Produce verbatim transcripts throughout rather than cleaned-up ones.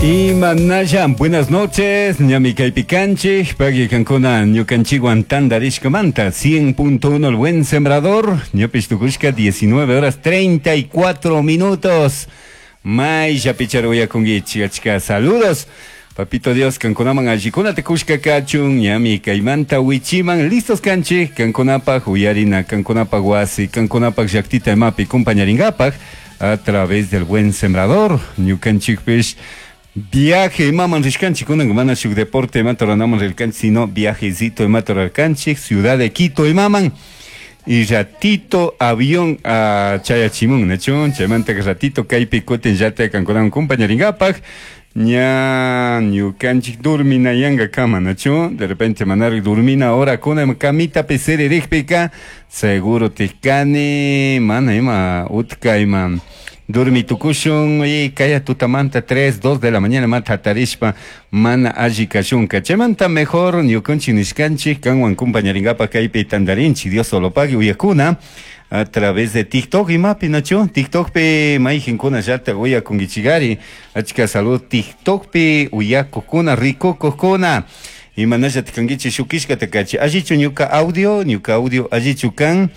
Imanalla, buenas noches, ñami kaypi kanchik, pagui kankuna ñukanchikwan tandarishkamanta, cien punto uno El Buen Sembrador, ñapish tukushka diecinueve horas treinta y cuatro minutos. Mayllapichari uyakunkichik, achka saludos. Papito Dios, kankunaman allikunata kushka kachun, ñami kaymanta wichiman listos kanchik, kankunapaj uyarina, kankunapaj wasi, kankunapaj llaktita imapi compañaringapaj a través del Buen Sembrador. Ñukanchikpish viaje imaman rishkanchik, kunan mana shuk deporte imata ruranaman rirkanchik, sino viajecito imata rurarkanchik, ciudad de Quito imaman. Y ratito avión a chayachimun, nachu? Chaymanta ratito kaypi kutin llata kankunawan compañaringapaj. Ña ñukanchik durminayanga kama, nachu? De repente manari durmina hora kuna camita siririkpika, seguro tikani, mana ima utka ima durmi tukushun y kaya tutamanta tres, dos de la mañana mata hatarishpa mana alli kashunka. Chaymanta mejor ñukanchik nishkanchik kanwan compañaringapaj kaypi tandarinchik. Dios solo pague uyakuna a través de TikTok imapi, nachu? TikTokpi mayjinkuna llata uyakunkichigari, achka salud TikTokpi uyakukuna, rikukukuna. Imanalla tikankichik? Shukishkata kachi. Allichu ñuka audio? Ñuka audio allichu kan?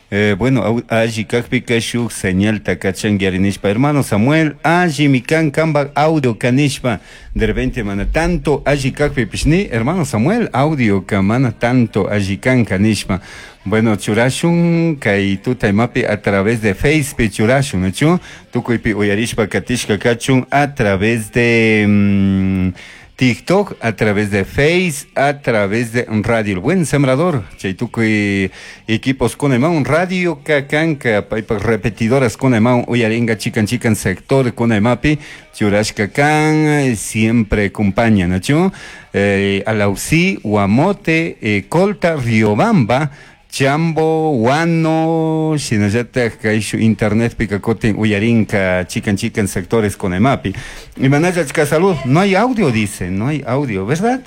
Eh, bueno, alli kakpika shuk señalta kachanki ari nishpa. Hermano Samuel, allimi kan kambak audio kanishpa. De repente mana tanto alli kakpipish ni, hermano Samuel, audio ka mana tanto alli kan kanishpa. Bueno, churashun kay tuta imapi a través de Facebook churashun, nachu? Tukuypi uyarishpa katishka kachun a través de mm, TikTok, a través de Face, a través de Radio El Buen Sembrador. Chay tukuy equipos con un radio kakanka, paypak repetidoras con uyaringa chikan chikan sector con imapi, churashka kan, siempre acompaña, nachu? Eh, Alausí, Guamote, eh, Colta, Riobamba, Chambo, Guano, shinallataj kayshu internet pika kutin uyarinka chikan chikan sectores con emapi. Imanalla, achka salud, no hay audio, dice, no hay audio, ¿verdad?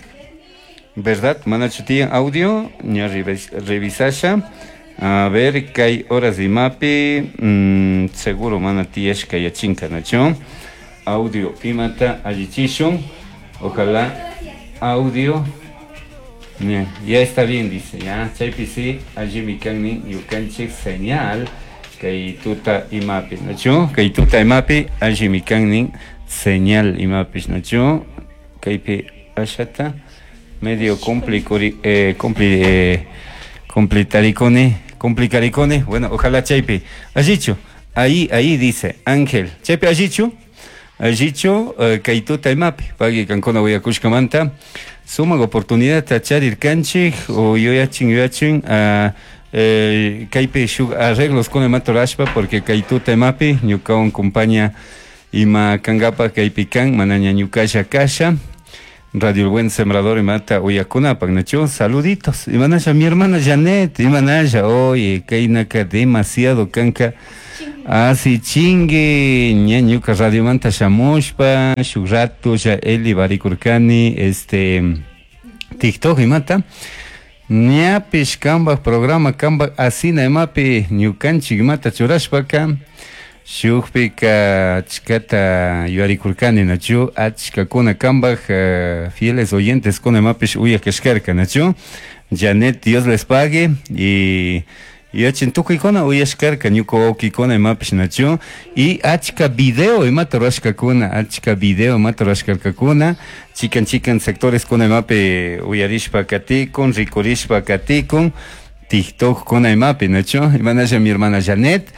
¿Verdad? Manachu tiyan audio, ña revisasha. A ver, kay horas imapi, mm, seguro mana tiyashka yachinka, nachu? Audio, imata allichishun, ojalá audio. Ya, ya está bien, dice, ya, chaypi sí, allimi kanmi ñukanchik señal, kay tuta imapi, nachu? Kay tuta imapi, allimi kannin señal imapish, nachu? Kaypi ashata, medio complicuri, eh, compli, eh, complitaricone, complicaricone, bueno, ojalá chaypi, allichu, ahí, ahí dice, Ángel, chaypi allichu, allichu, eh, kay tuta imapi, pagui kankuna uyakushkamanta, sumak oportunidad charirkanchik o yuyachin yuyachin uh, eh, kaypi shuk arreglos con imata rurashpa porque kay tuta imapi ñukawan compañía ima kankapa kaypi kan manaña ñukalla kasha Radio El Buen Sembrador imata uyakunapak, nachu? Saluditos, imanalla, mi hermana Janet, imanalla, oye, kaynaka demasiado kanka así chingue ña ñuka radiomanta shamushpa shuk rato ya Eli barikurkani este TikTok imata ñapish kambak programa kambak asina imapi ñukanchik imata churashpaka shukpika achkata yuyarikurkani, nachu? Achkakuna kambak uh, fieles oyentes kuna imapish uyak kashkarka, nachu? Janet, Dios les pague y yachin tukuykuna uyashkarka ñuka wawkikuna imapish, nachu? Y achka video imata rurashkakuna, achka video imata rurashkarkakuna chikan chikan sectores kuna imapi uyarishpa katikun, rikurishpa katikun TikTok kuna imapi, nachu? Imanalla, mi hermana Janet,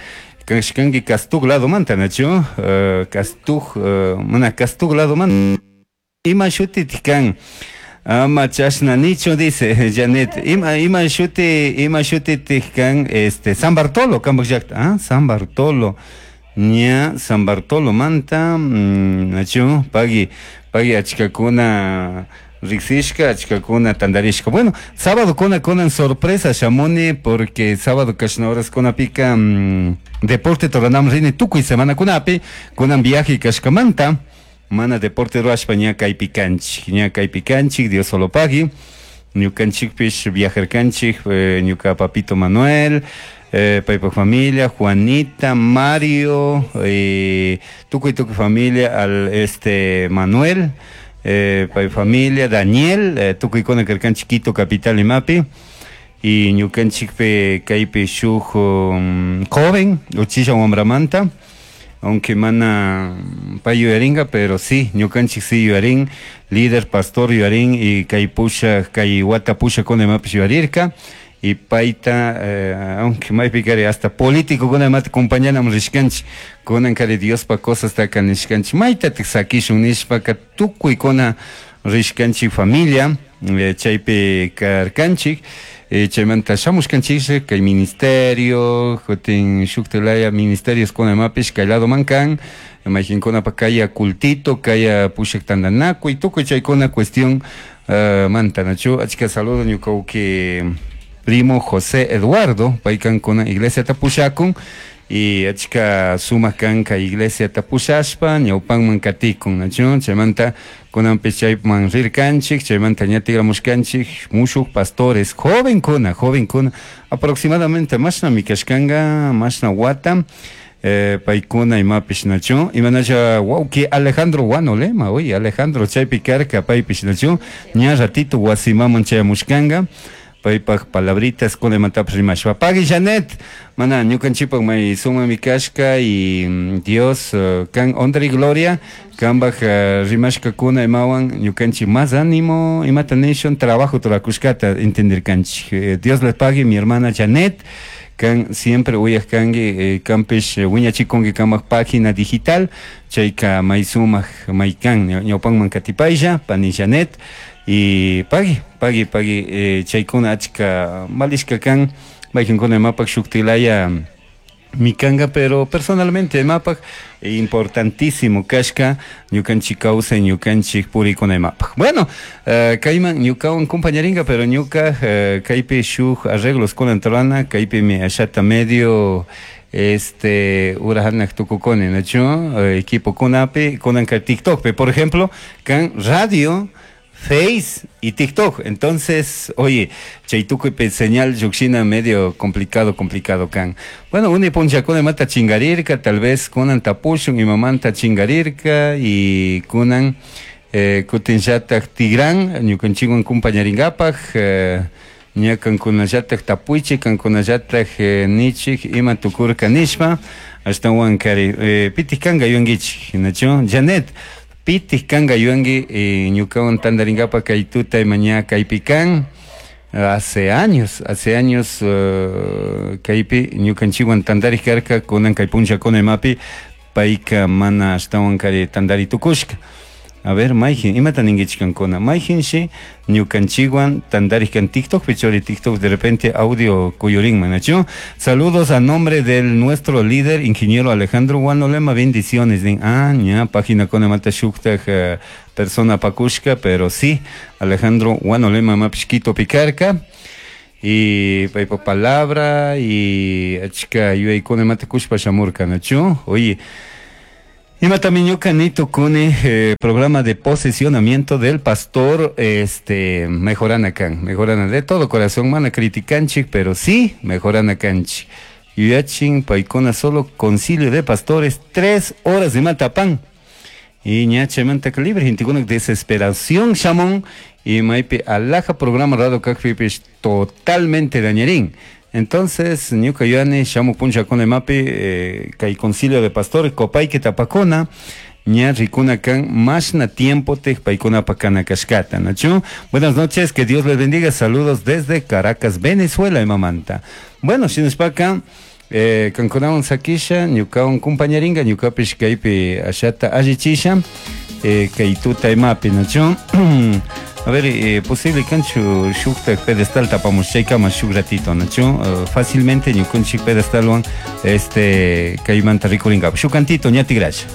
kashkanki Castug lado manta, nachu? uh, Castug, uh, mana Castug lado manta, ima shuti kan? Ama chashna nicho, dice Janet. Ima ima shuti ima shuti kan este San Bartolo kambak llakta, ah, San Bartolo. Ña San Bartolo manta, mm, nachu? Pagui pagui achkakuna riksishka, achkakuna tandarishka. Bueno, sábado kuna kunan sorpresa shamuni porque sábado kashna horas kunapika mm, deporte ruranam rini tukuy semana kunapi, kunan viaje kashkamanta mana deporte rurashpa ña kaypi kanchik, ña kaypi kanchik, Dios solo pagui. Ñukanchikpish viajarkanchik, eh, ñuka papito Manuel, eh, paypa familia, Juanita, Mario, eh, tukuy tukuy familia, al este Manuel, eh, pay familia, Daniel, eh, tukuykuna karkanchik Quito capital imapi, y ñukanchikpi kaypi shuk um, joven, uchilla wambramanta, aunque mana pay yuyaringa, pero sí, ñukanchik sí yuyarin, líder pastor yuyarin, y kay pusha, kay wata pushakuna imapish yuyarirka, y payta, eh, aunque maypi kari hasta político kuna imata compañanam rishkanchik, kunan kari Diospa cosastaka nishkanchik, maytatik sakishun nishpaka tukuykuna rishkanchik familia, eh, chaypi karkanchik, eh, chaymanta shamushkanchik kay ministerio, kutin shuktilaya ministerios kuna imapish kay ladoman kan, mayqinkunapa kaya cultito, kaya pushak tantanakuy, tukuy chaykuna cuestión uh, manta, nachu, achka saludo ñuka wawki primo José Eduardo, paykan kuna iglesia tapushakun, y achka sumak kan kay iglesia tapushashpa, ñawpanman katikun, nachu, chaymanta kunanpish chayman rirkanchik, chaymanta ña tigramushkanchik, mushuk pastores, jovenkuna, jovenkuna, aproximadamente mashnami kashkanka, mashna wata, eh, paykuna imapish nachu, imanacha wawki Alejandro Guanolema, oye, Alejandro chaypi karka paypish nachu, ña ratito wasimaman chayamushkanka, paypak palabritas kuna imatapish rimashpa. Pagui Janet, mana ñukanchikpak may sumami kashka y Dios uh, kan honra y gloria, kanpak uh, rimashkakuna imawan ñukanchik más ánimo, imata nishun trabajo turakushkata entendirkanchik. Eh, Dios les pague mi hermana Janet, kan siempre uyaj kanki, eh, kanpish wiñachikunki kanpak página digital, chayka may sumak may kan ñawpanman katipaylla, pani Janet, y pagui, pagui, pagui, eh, chaykuna achka valishka kan, mayqinkuna imapak shuktilaya mikanga, pero personalmente imapak importantísimo kashka ñukanchik kawsay, ñukanchik purikuna imapak. Bueno, uh, kayman ñukawan compañeringa, pero ñuka uh, kaypi shuk arreglos kunan rurana, kaypimi ashata medio este urahanak tukukuni, nachu, uh, equipo kunapi, kunan kay TikTokpi, por ejemplo, kan radio, Face y TikTok. Entonces, oye, chay tukuypi señal llukshina medio complicado, complicado kan. Bueno, uni punchakuna mata chingarirka, tal vez kunan tapushun imamanta chingarirka y kunan eh, kutinllatak tigran, ñukanchikwan compañaringapak, eh, ña kankunallatak tapuychik, kankunallatak eh, nichik ima tukurka nishpa, ashtawan kari, eh, pitik kanka yuyankichik, nachu, Janet, pitik kanka yuyanki eh, ñukawan tantarinkapak kay tuta ima ña kaypi kan, hace años, hace años uh, kaypi ñukanchikwan tantarik karka, kunan kay punchakuna imapi, payka mana ashtawan kari tantari tukushka. A ver, mayjin, imata ninkichik kankuna, mayjinshi ñukanchikwan tantarik kan TikTok, pichori TikTok de repente audio kuyurinman, nachu. Saludos a nombre del nuestro líder, ingeniero Alejandro Guanolema, bendiciones. Din, ah, ña, página kuna mata shuktaj uh, persona pakushka, pero sí, Alejandro Guanolema mapish Quitopi karka. Y paypa palabra y achka yuyaykuna imata kushpa shamurka, nachu. Oye, imatami ñuka ni tukuni, eh, programa de posicionamiento del pastor, este, mejorana kan, mejorana de todo corazón, mana criticanchik, pero sí, mejorana kanchik. Yuyachin paykuna solo concilio de pastores, tres horas de matapan. Y ña chaymanta libre, gentekuna desesperación shamun, y maypi alaja programa radio kakpipish totalmente dañarín. Entonces, ñuka yuyani shamuk punchakuna imapi, eh, kay concilio de pastores, kopayki tapakuna, ña rikuna kan mashna tiempo te paykuna pakana kashkata, nachu. Buenas noches, que Dios les bendiga, saludos desde Caracas, Venezuela, imamanta. Bueno, shinashpaka, eh, kankunawan sakisha, ñukawan compañeringa, ñukapish kaypi ashata allichisha, eh, kay tuta imapi, nachu. A ver, eh, posible kanchu shukta pedestal tapamos chaykama shuk ratito, nachu, uh, fácilmente ñukunchik pedestalwan, este, kaymanta rikuringa. Shuk cantito, ña tigrasha.